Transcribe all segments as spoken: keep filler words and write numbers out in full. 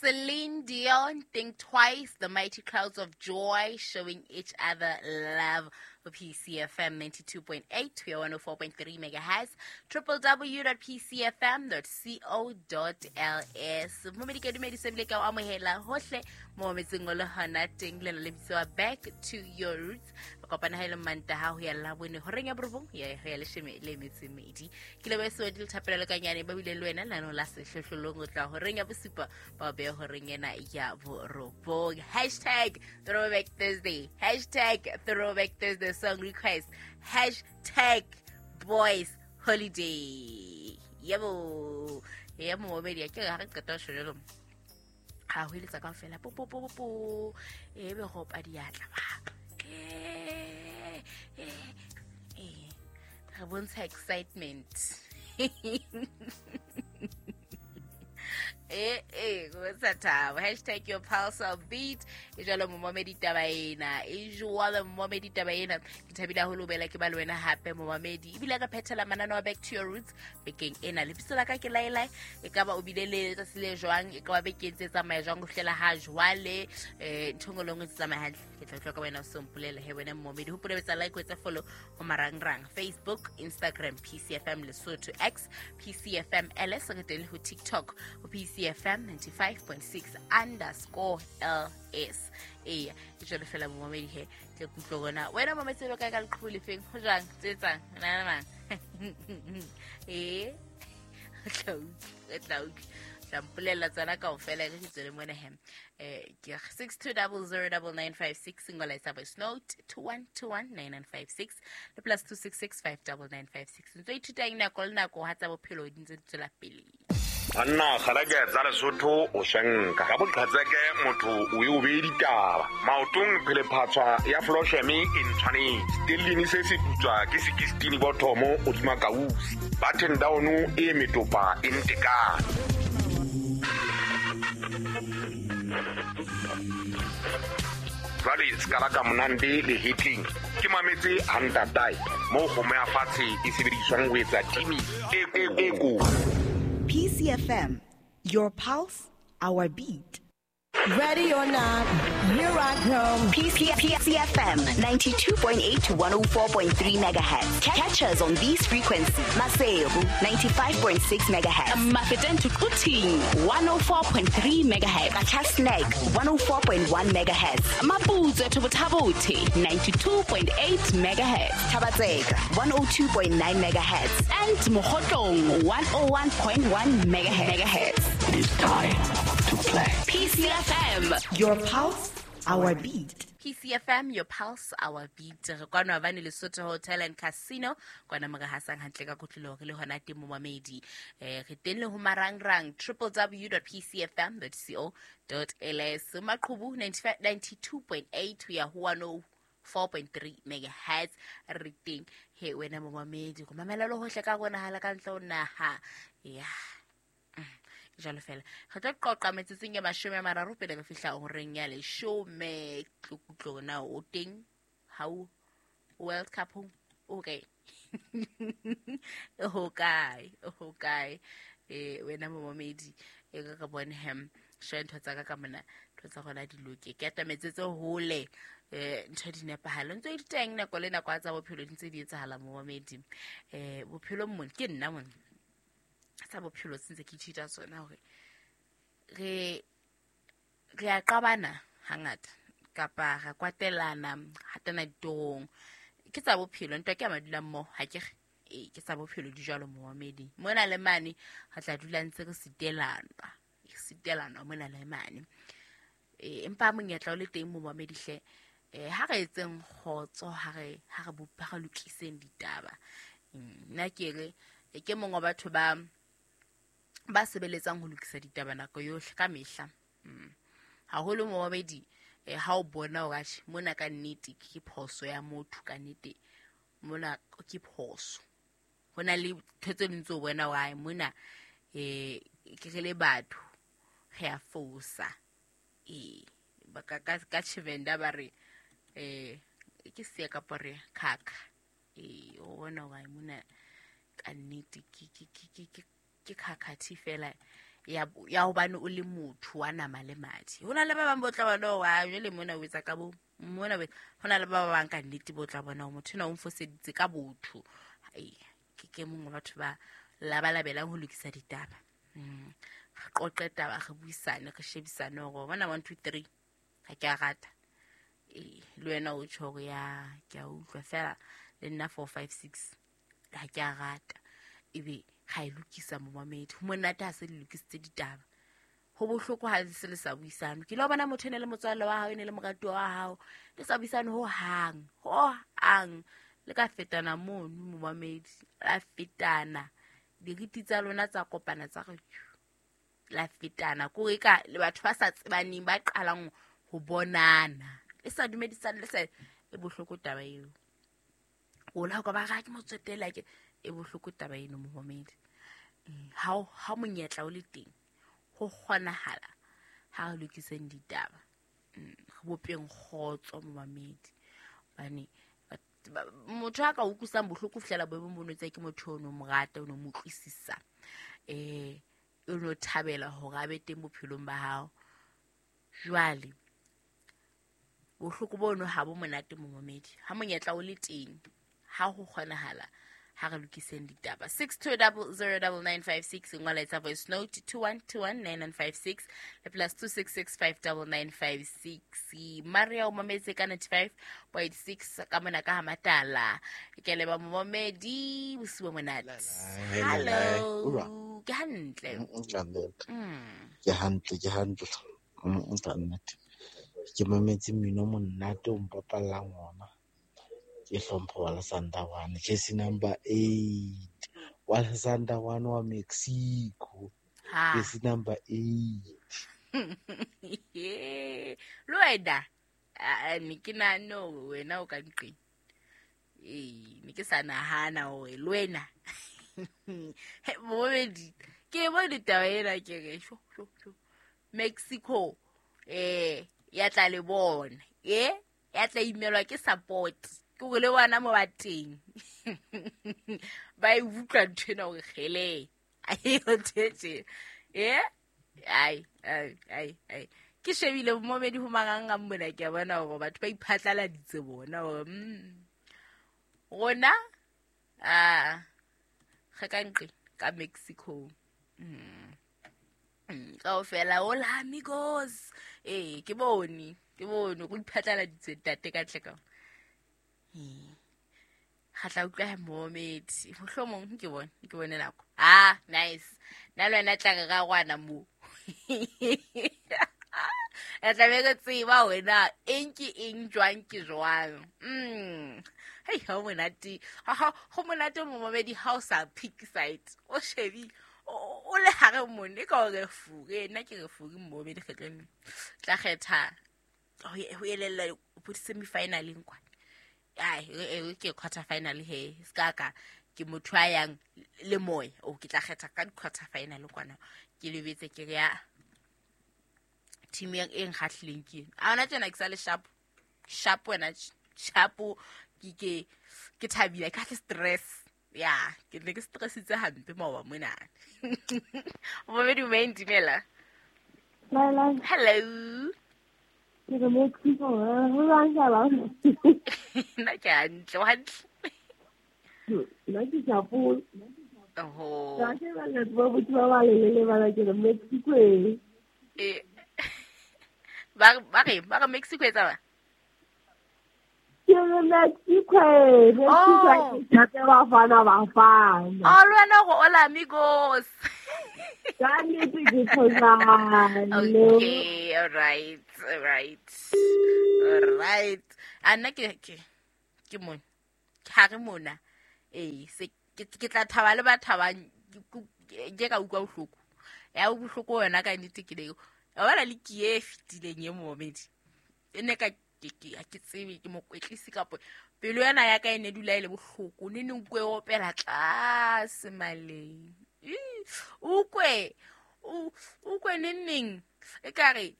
Celine Dion, Think Twice, The Mighty Clouds of Joy, showing each other love. For P C F M ninety-two point eight, we are one oh four point three megahertz, w w w dot p c f m dot co dot l s. Momedi ke dumedise ebile ke o amohela hohle mo metseng o le hona teng le le bitsoa Back to Your Roots. Re kopana ha ile Mantaha ho ya Labone horeng ya borobong ya ho ya leshome le metso e mmedi. Ke leboha Sewedi le Thapelo le Kanyane ba bile le wena lano la sehlohlolong o tla horeng ya bosupa ba be horeng ena ya borobong. Hashtag Throwback Thursday. Hashtag Throwback Thursday song request. Hashtag Boys Holiday. Yebo. Yebo momedi ke ga re qeta ho jalo. Ha ho eletsa kaofela po po po po. E be go pa diatla ba. Eh eh eh. Re bontsha excitement. Eh eh go tsa thabo. Hashtag your pulse of beat. E jwalo momamedi taba ena. E jwalo momamedi taba ena. Ke thabile haholo bela ke ba le wena hape momamedi. Ebile ka phethela manano a Back to Your Roots bekeng ena. Lebitso la ka ke Laila. E ka ba o bile le letsatsi le jwang, e ka ba bekeng tse tsamaya jwang ho fihlela ha jwale. Eh ntho nngwe le nngwe tse tsamaya hantle. Ke tla utlwa ka wena o se mpolele he wena momamedi. Hopola ho etsa like, ho etsa follow ho marangrang Facebook, Instagram P C F M Lesotho, X P C F M L S, re teng le ho TikTok ho P C F M ninety-five point six underscore L S. Eya, ke jwalo fela momamedi he, ke kutlwe rona. Wena momamedi o kae ka leqhubu lefeng? Ho jwang? Tse etsang? Nana mang? Eh, o tla utlwa, o tla utlwa. Tla mpolella tsona kaofela re ke tswele mona he. Eh, ke six two zero zero nine nine five six single line voice note two one two one nine nine five six le plus two six six five nine nine five six. Ntse ithuta eng nako le nako ha tsa bophelo di ntse di tswela pele. Banna kgalake tsa Lesotho o shanka ka boqhatseke motho o e o bee ditaba maotong phelephatswa ya flosheme e ntshwanetse stellini se se putswa ke sekistini bothomo hodima kausi button down e metopa e ntekane. Jwale se ka ka monande le hitling ke mametse hantatai mo kgomo ya fatshe e sebediswang ho etsa timi e e ko. P C F M, your pulse, our beat. Ready or not, here I come. P C F M ninety-two point eight to one oh four point three megahertz. Catch us on these frequencies. Maseru ninety-five point six megahertz. Mafeteng to Quthing one oh four point three megahertz. Qacha's one oh four point one megahertz. Maputsoe to Botha-Bothe ninety-two point eight megahertz. Thaba-Tseka one oh two point nine megahertz. And Mokhotlong one oh one point one megahertz. It is time to play. P C F M, your pulse, our beat. P C F M, your pulse, our beat. Re kwana bane Lesotho Hotel and Casino kwana mo re hasang hantle ka kotloloho re le hona teng momamedi. Eh re teng le ho marangrang w w w dot p c f m dot co dot l s. Maqhubu ninety-two point eight ho ya ho one oh four point three megahertz. Re teng he wena momamedi go mamela le hohle ka rona hala ka ntle ho naha. Yeah. Jalo fela re tlo qoqa metsotsong ya mashome a mararo pele re fihla horeng ya leshome. Tlokutlo na o teng ha o World Cup o kae? O kae? O kae? Eh wena momamedi e ka ka bone hem share ntho tsa ka ka mona ntho tsa gona di loke ke atametse tse hole eh ntho di nepahalo ntse di teng nako le nako tsa bophelo di ntse di etsahala momamedi. Eh bophelo mmone ke nna mone tsa bophelo se ntse ke ithuta tsona hore re re a qabana hangata kapa ra kwatelana hatana ditong ke tsa bophelo ntwa ke a madula mmoho ha ke re e ke tsa bophelo di jwalo momamedi mona le mane ha tla dula ntse re sitelana sitelana mona le mane e empa monyetla o le teng momamedi hle eh ha re etseng kgotso ha re ha re bopa re lokiseng ditaba. Nna ke re ke mongwe wa batho ba ba sebeletsang ho lokisa ditaba nako yohle ka mehla. Haholo momamedi eh ha o bona hore atjhe mona ka nnete ke phoso ya motho ka nnete mona ke phoso ho na le ntho tse ding tseo bona hore mona eh ke re le batho re a fosa eh ba ka ka Tshivenda ba re eh ke se ka re khakha eh o bona hore mona ka nnete ke ke ke ke ke khakhathi fela Ya ya hobane o le motho wa nama le madi. Ho na le ba bang bo tla bona wa jwale mona o etsa ka bo mona ho na le ba bang ka nnete bo tla bona motho ena o mfoseditse ka botho. Ai ke ke mongwe batho ba labalabelang ho lokisa ditaba. Mm. Re qoqe taba, re buisane, re shebisane hore bona one two three ha ke a rata. Eh le wena o tjho hore ya ke a utlwa fela le nna four five six ha ke a rata. Ebe ga e lokisa momamedi. Ho monate ha se le lokisitse ditaba. Ho bohloko ha se le sa buisane. Ke lo bona motho ene le motswalle wa hao, ene le moratuwa wa hao, le sa buisane ho hang, ho hang. Le ka fetana mono momamedi, la fetana. Diriti tsa lona tsa kopana tsa re la fetana. Ko e ka le batho ba sa tsebaneng ba qalang ho bonana. Le sa dumedisane le sa e bohloko taba eo. O la ka ba ga ke motswetela ke e bohloko taba eno momamedi. Ha ha monyetla o le teng ho kgonahala ha re lokiseng ditaba. Re bopeng kgotso momamedi. Hobane motho a ka utlwisang bohloko fihlela boemong bo notse ke motho ono mo rata, ono mo utlwisisa. Eh o no thabela hore a be teng bophelong ba hao. Jwale bohloko bono ha bo monate momamedi. Ha monyetla o le teng ha ho kgonahala ha re lokiseng ditaba. Six two double zero double nine five six ngola etsa voice note two one two one nine nine five six le plus two six six five double nine five six. Maria o mametse ka ninety five point six ka mona ka Hamatala. Ke leba momamedi bosiu monate. Hello. Ke hantle. Ke hantle, ke hantle. Ke mametse mmino monate o mpapallang ona. Ke hlompho wa Sandawana, jersey number eight. Wa Sandawana wa Mexico. Jersey number eight. Le wena ne ke nahane hore wena o ka nqeng. Eh ne ke sa nahana hore le wena. Momedi ke bone taba ena ke re sho sho sho. Mexico eh ya tla le bona. Eh ya tla imelwa ke support. Ke gore le bona mo ba teng. Ba e utlwa ntho ena hore kgele. Ai o tetse. Eh ai ai ai ai. Ke shebile momedi ho mangang mona ke a bona hore batho ba iphatlaladitse bona hore mm rona ah re ka nqe ka Mexico. Mm. Kaofela hola amigos. Eh ke bone, ke bone go iphatlaladitse ntate ka tle ka. Ga tla utlwa momedi mohlomong ke bone ke bone nako. Ah nice. Nna le wena tla re ra rwana mo. E tla be re tseba wena eng ke eng jwang ke jwang. Mm. Hei ha monate. Ha ho monate momedi ha o sa pick side. O shebi o le hare mone ka o re fure nna ke re fure momedi kgetlong. Tla kgetha ho elella bo semi finaleng kwa. Ai e ke quarter final he ska ka ke motho a yang le moya o ke tla kgetha ka quarter final kwana ke lebetse ke ya team e nkgahlileng ke a ona tsena ke sa le sharp sharp wena sharp ke ke ke thabile ka le stress ya ke ne ke stressitse hampe maoba mona. Momedi o dumela. Hello. Ke re Mexico ho jwang shaba? Nna ke hantle, o hantle. Nna ke sharp. Oho. Ka ke ba le ba botho ba ba lelele ba la ke re Mexico e. Eh. Ba ba re ba re Mexico e tsaba? Ke re Mexico e, Mexico ke tla Bafana Bafana. Oh, le wena go hola amigos. Ka nnete ke tshosane. Okay, all right, all right. All right. A nna ke ke ke mona. Ke hare mona. Eh, se ke ke tla thaba le ba thabang ke ka utlwa bohloko. Ya bohloko wena ka nnete ke le. Wa bona le ke e fetileng e momedi. E ne ka ke ke ke tsebe ke mokwetlisi kapo pelo yena ya ka e ne dula ile bohloko ne neng kwe opela tlase maleng. O kwe o kwe neng e ka re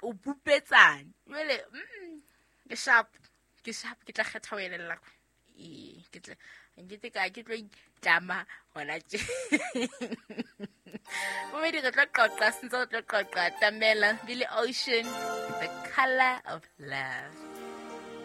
o pupetsane jwale mm ke sharp ke sharp ke tla kgetha ho elella e ke tla Nkete ka ke tlo itlama hona tje. Momedi re tlo qoqa, sentse re tlo qoqa. Tamela Billy Ocean, The Color of Love.